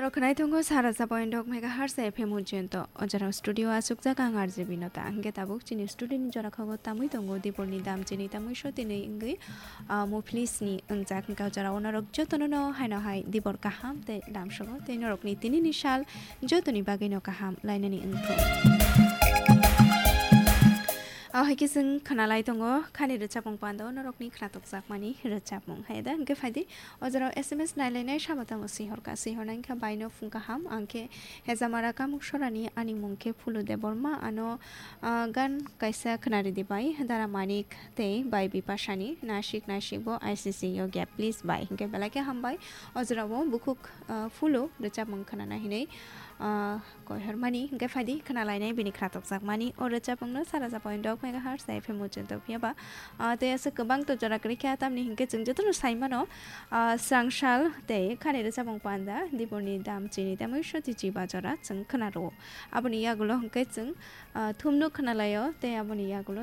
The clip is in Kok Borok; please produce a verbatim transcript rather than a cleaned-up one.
Khwnai tongo sara sabo indok megahertz F M ujento. O jora studio asukjak ang R J Binota. Hingke tabuk chini studio ni jora khago tamui tongo Diporni dam chini tamui sotini wngwi, ah, muphilisni wngjak. Hingke o jora o norok jotono no haino hai Dibor kaham tei dam sobo tei norokni tinini sal jotoni bagwi no kaham lainani wngthung. O hai khe chwng khwnalai tongo khani rwchapmung pando norokni khwnatokjakmani rwchapmung. Hai da hingke phaidi O jora o S M S nailainai sabo tamo sihorka, sihornai wngkha baino phung kaham, ang khe Hejamara Kamuksorani, ani mung khe Phulu Debbarma, ano, ah, gan kaisa khwnaridi bai Dara Manik tei bai Bipasani, nasik nasik bo I C C yokya please bai, hingke belai khe hambai. O jora o bukhuk, ah, Phulu rwchapmung khwnana hinwi, ah, Koihormani, hingke phaidi khwnalainai bini khwnatokjakmani o rwchapmungno sara jabo indok megahertz F M ujento phiyaba. Ah, tei aswk kwbang to jora kwrwi kha, tamni hingke chwng jotono sai mano, ah, swrang sal tei khani rwchapmung panda Diporni dam chini tamui soti chiba jora chwng khwnaro. Aboni yagulo hingke chwng, ah, thumno khwnalaio tei aboni yagulo